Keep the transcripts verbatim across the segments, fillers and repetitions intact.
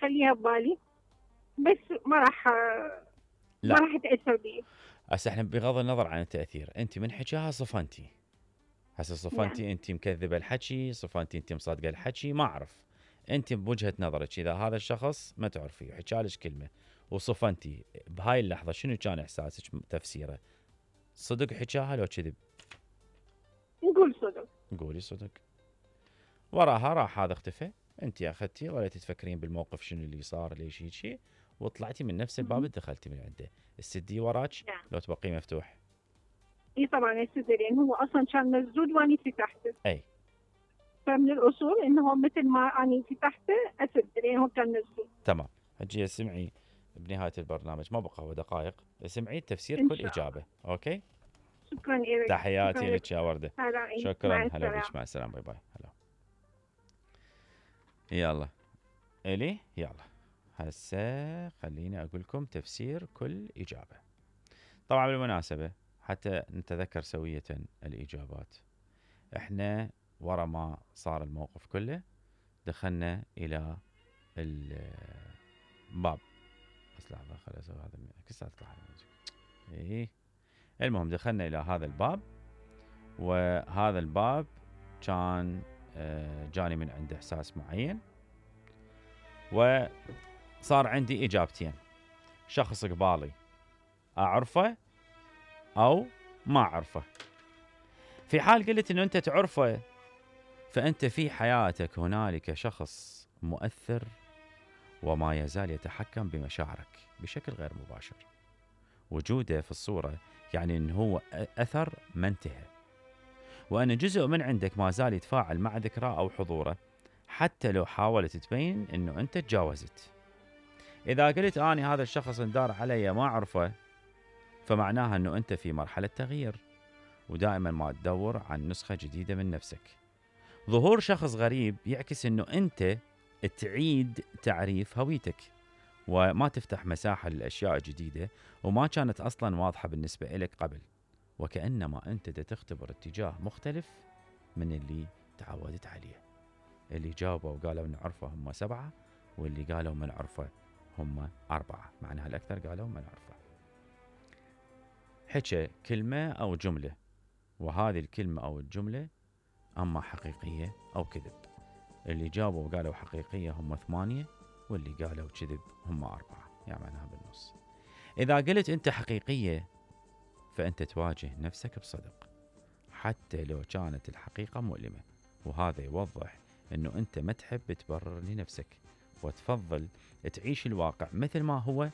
اخليها ببالي، بس ما راح لا. ما راح اتاثر بي. هسه احنا بغض النظر عن التاثير، انت من حكاها صفنتي، هسه صفنتي نعم. انت مكذبه الحكي، صفنتي انت مصدقه الحكي، ما اعرف. انت بوجهه نظرك اذا هذا الشخص ما تعرفيه وحكالك كلمه وصفنتي، بهاي اللحظه شنو كان احساسك تفسيره؟ صدق حكاها لو كذب؟ نقول صدق. قولي صدق. وراها راح هذا اختفى، انت اخذتي ولا تتفكرين بالموقف شنو اللي صار ليش هيك، وطلعتي من نفس الباب دخلتي من عنده. السدي وراك نعم. لو تبقي مفتوح؟ اي طبعا يسد، لان هو اصلا كان مسدود واني فتحته. اي. فمن الاصول انه مثل ما اني فتحته اسد، لان هو كان مسدود. تمام. هجي اسمعي بنهايه البرنامج، ما بقى هو دقائق، اسمعي تفسير إن كل شاء الله. اجابه. اوكي. شكرا لك. تحياتي لك يا ورده. هلا. شكرا. مع هلا بك. السلامة. مع السلامه. باي باي. هلا. يلا الي يلا هسه خليني اقول لكم تفسير كل اجابه. طبعا بالمناسبه حتى نتذكر سويه الاجابات، احنا ورا ما صار الموقف كله دخلنا الى الباب. بس لحظه خليني اسوي هذا كسرت ايه. المهم دخلنا الى هذا الباب، وهذا الباب كان جاني من عنده احساس معين، وصار عندي اجابتين: شخص قبالي اعرفه او ما اعرفه. في حال قلت انه انت تعرفه، فانت في حياتك هنالك شخص مؤثر وما يزال يتحكم بمشاعرك بشكل غير مباشر. وجوده في الصورة يعني انه هو اثر ما انتهى، وان جزء من عندك ما زال يتفاعل مع ذكراه او حضوره حتى لو حاولت تبين انه انت تجاوزت. اذا قلت اني هذا الشخص اندار علي ما اعرفه، فمعناها انه انت في مرحلة تغيير، ودائما ما تدور عن نسخة جديدة من نفسك. ظهور شخص غريب يعكس انه انت تعيد تعريف هويتك، وما تفتح مساحة للأشياء الجديدة وما كانت أصلا واضحة بالنسبة إليك قبل، وكأنما أنت تختبر اتجاه مختلف من اللي تعودت عليه. اللي جاوبوا وقالوا نعرفه هم سبعة، واللي قالوا من عرفه هم أربعة، معناها الأكثر قالوا من عرفه. حكى كلمة أو جملة، وهذه الكلمة أو الجملة أما حقيقية أو كذب. اللي جابوا وقالوا حقيقية هم ثمانية، واللي قالوا كذب هم أربعة، يعني معناها بالنص. إذا قلت أنت حقيقية فأنت تواجه نفسك بصدق حتى لو كانت الحقيقة مؤلمة، وهذا يوضح أنه أنت ما تحب تبرر لنفسك وتفضل تعيش الواقع مثل ما هو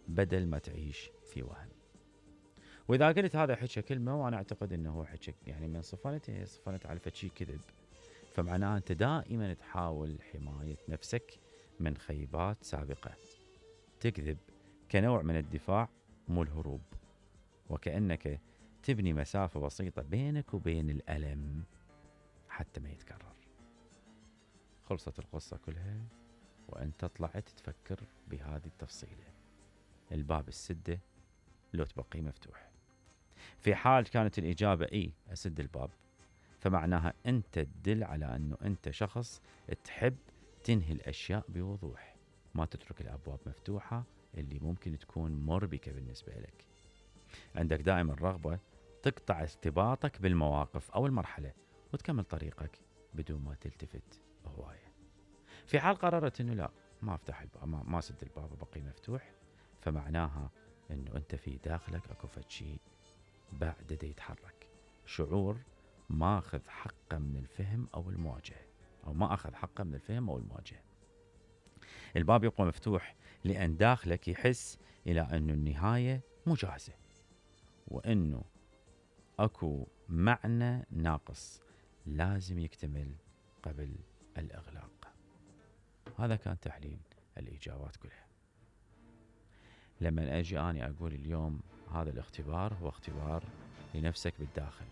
بدل ما تعيش في وهم. وإذا قلت هذا حكى كلمة وأنا أعتقد أنه هو حكى يعني من صفنته صفنت على فشي كذب، فمعناه أنت دائما تحاول حماية نفسك من خيبات سابقة. تكذب كنوع من الدفاع مو الهروب، وكأنك تبني مسافة بسيطة بينك وبين الألم حتى ما يتكرر. خلصت القصة كلها وأنت طلعت تفكر بهذه التفصيلة: الباب السدة لو تبقي مفتوح. في حال كانت الإجابة إي أسد الباب، فمعناها أنت تدل على أنه أنت شخص تحب تنهي الأشياء بوضوح، ما تترك الأبواب مفتوحة اللي ممكن تكون مربكة بالنسبة لك. عندك دائما رغبة تقطع ارتباطك بالمواقف أو المرحلة وتكمل طريقك بدون ما تلتفت هواية. في حال قررت أنه لا ما أفتح الباب، ما, ما سد الباب وبقي مفتوح، فمعناها أنه أنت في داخلك أكو فشي بعد دا يتحرك، شعور ما أخذ حقه من الفهم أو المواجهة، أو ما أخذ حقه من الفهم أو المواجهة. الباب يبقى مفتوح لأن داخلك يحس إلى أنه النهاية مجازة، وأنه أكو معنى ناقص لازم يكتمل قبل الإغلاق. هذا كان تحليل الإجابات كلها. لما أجي أنا أقول اليوم هذا الاختبار هو اختبار لنفسك بالداخل،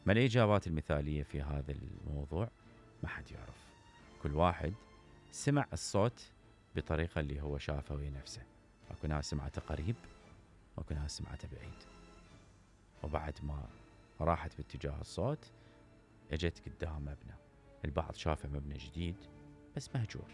ما الإجابات المثالية في هذا الموضوع؟ ما حد يعرف، كل واحد سمع الصوت بطريقة اللي هو شافه وينفسه. أكو ناس سمعته قريب وأكو ناس سمعته بعيد، وبعد ما راحت باتجاه الصوت اجت قدام مبنى، البعض شافه مبنى جديد بس مهجور،